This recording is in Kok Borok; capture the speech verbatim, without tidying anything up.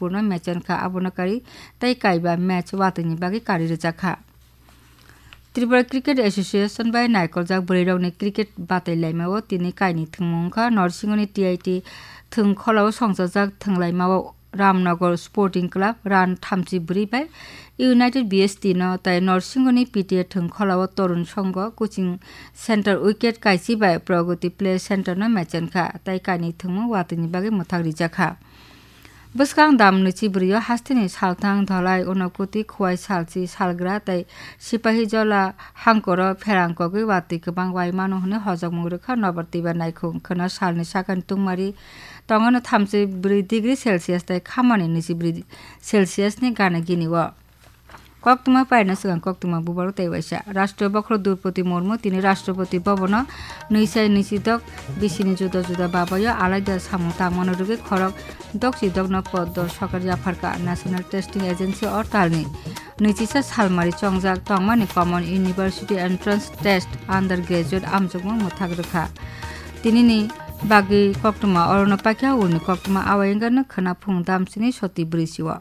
Purno mechenkha, abono kari tei kaiba match watwini bagwi kari rwjakha. Tripura Cricket Association bai naikoljak bwrwirokni cricket batailaimao tini kaini thwngmung wngkha. Norsingoni T I T thwng kholao songchajak thwnglaimao Ramnagar Sporting Club run thamchi bwrwi bai United B S T no tai Norsingoni P T A thwng kholao Torun Songho coaching center wicket kaichi bai Pragati Play Center no mechenkha, tai kaini thwngmung watwini bagwi mwthak rijakha. Bwskang dam nwichi bwrwi o hasteni salthang dholai Unakoti Khowai salchi salgra tei Sipahijola hangkoro pherang kogwi watwi kwbang wai mano hwnwi hojokmung rwkha Nobar Twiba naikhung khwna salni sakani tungmari tongano thamchi bwrwi degree Celsius tei khamani nwichi bwrwi Celsius ni gana gini o. Koktwma paina swkang koktwma bubaro tei waisa. Rashtra bokhorok Droupadi Murmu tini Rashtrapati Bhavan-o nwi sai nwi chi dok bisini juda juda babayo alaida samung tangmano rwgwi khorok dok chi dokno poddo sokar yapharkha. National Testing Agency o talni nwi chi sa salmari chongjak tongmani Common University Entrance Test undergraduate amjokmung mwthak rwkha. Tinini bagwi koktwma orono paikha ulni koktwma awai wngkha khwna phung damsini soti bwrwi si o.